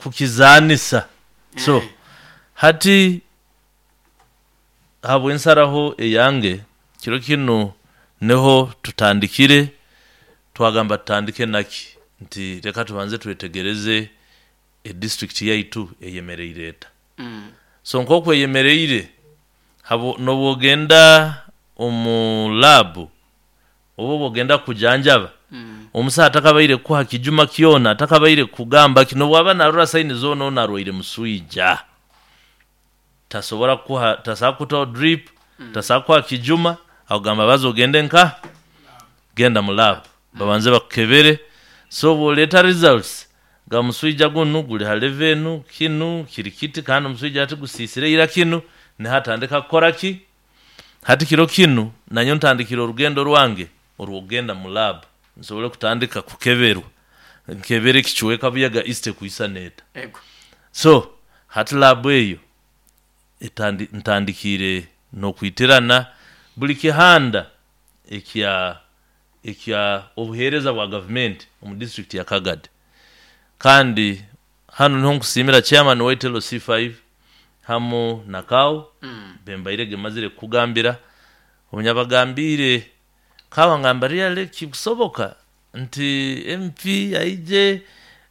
Kukizaanisa. So hati habw'ensaraho eyange, kiro kinu niho tutandikire, twagamba tutandike naki? Nti leka tubanze twetegereze e district yaitu eyemereire eta. So nk'oku eyemereire, n'obu ogenda omu lab oba obwogenda kukujanjaba, omusaho atakabaire kukuha kijuma kyona, atakabaire kukugamba ki, n'obwaba naarora saini zoona onu arwaire muswija, tasobola kukuha, tasobola kukutaho drip, tasobola kukuha kijuma, akugamba baza ogende nkaha? Genda mu lab babanze bakukebere, so obwoleeta results ga muswija gunu guli ha level enu, kinu kiri kiti kandi omuswija hati gusiisire ira kinu, niho atandika kukora ki? Hati kiro kinu nanyowe ntandikire orugendo rwange orw'okugenda mu lab nsobole kutandika kukeberwa, nkebere ekicweka Buyaga East ekwisana eta. So hati lab eyo ntandikiire n'okwitirana buli kihanda ekya ekya obuheereza bwa gavumenti omu disiturikiti ya Kagadi. Kandi hanu niho nkusiimira chairman waitu LC5 hamu na CAO be mbairege mazire kukugambira, obu nabagambiire CAO angamba really kikusoboka nti MP aije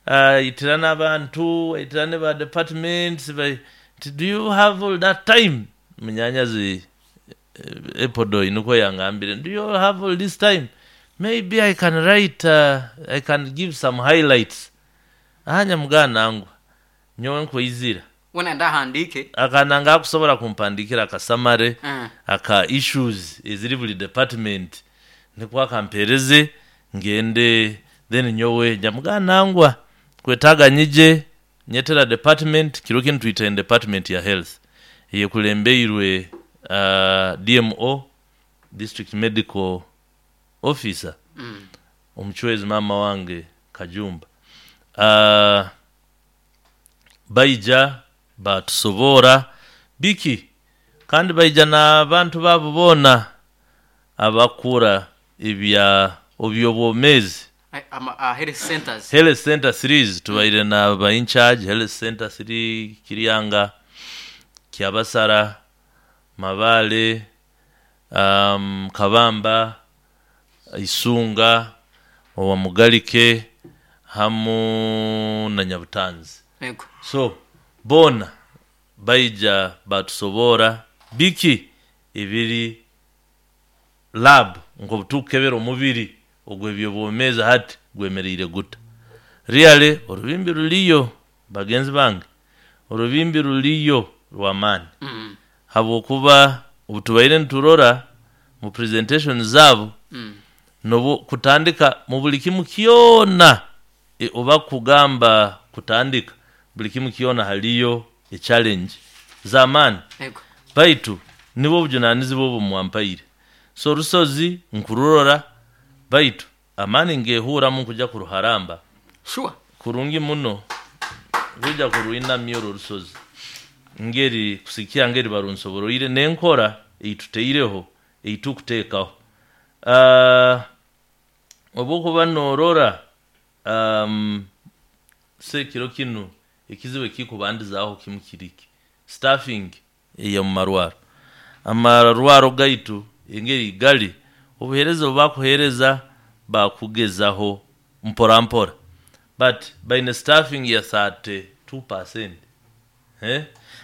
aitirane abantu, aitirane ba departments nti do you have all that time? Munyanyazi Epodoi nikwo yangambire, do you have all this time? Maybe I can write, I can give some highlights. Aa nyamugamba nangwa, nyowe nkweizira. Weena nayenda ahandiike. Akananga akusobola kumpandiikira aka summary aka issues eziri buli department nikwo akampeereze ngende then nyowe nyamugamba nangwa nkwetaaga nyije nyetera department, kiro kinu twitaine department ya health eyekulembeirwe DMO, District Medical Officer, omucwezi maama wange Kajumba. Baija baatusoboora biki kandi baija n'abantu baabo boona abakukura ebya eby'obwomeezi. Health centers. Health center threes tubaire na ba incharge health center three Kiryanga, Kyabasara, Mabaale, Kabamba, Isunga, owa Mugalike hamu na Nyabutanzi. So boona baija baatusoboora biki ebiri lab nk'obutukukebera omubiri ogw'ebyobwomeezi hati gwemereire guta. Really orubimbi ruriyo bagenzi bange, orubimbi ruriyo rw'amaani habwokuba obutubaire niturora mu presentation zaabo n'obu kutandika mu buli kimu kyona oba kugamba kutandika buli kimu kyona haliyo e challenge z'amaani baitu nibwo obujunaanizibwa obu mwampaire. So orusozi nkururora baitu amaani ngehuuramu nkuja kuruharamba kurungi muno, nkwija kurwinamya oru orusozi ngeri kusigikirra ngeri barunsoboroire n'enkora ei tutaireho ei tukuteekaho. Obu okuba noorora se kiro kinu ekizibu ekikubandizaaho kimu kiri ki, staffing ey'omu marwaro. Amarwaro gaitu engeri gali, obuheereza obu bakuheereza bakugezaho mpora mpora but baine staffing ya 32%,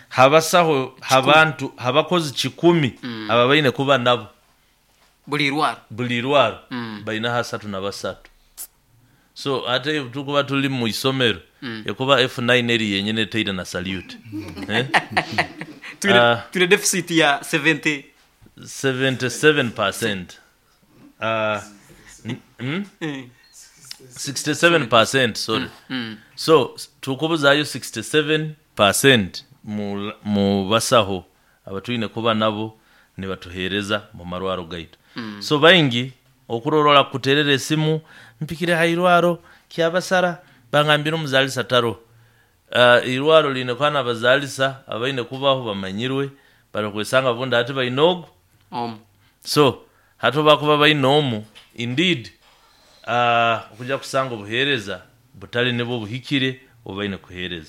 ha basaho ha bantu ha bakozi kikumi aba baine kuba nabo Buli irwaro. Buli irwaro baineho asatu na basatu. So ate obu tukuba tuli mu isomero ekuba F9 eri yenyini etaine na salute. Twine deficit ya 70. 77%. 67% sorry. So tukubuzaayo 67% mu basaho abatwine kuba nabo nibatuheereza mu marwaro gaitu. So baingi okurora orakukuteerera esimu, mpikire ha irwaro Kyabasara bangambire omuzaalisa taroho. Eirwaro riine kuba n'abazaalisa abaine kubaho bamanyirwe barikwesanga obundi hati baine ogu Omu. So hati obu bakuba baine omu, indeed okuja kusanga obuheereza butali nibwo buhikire obu baine kuheereza.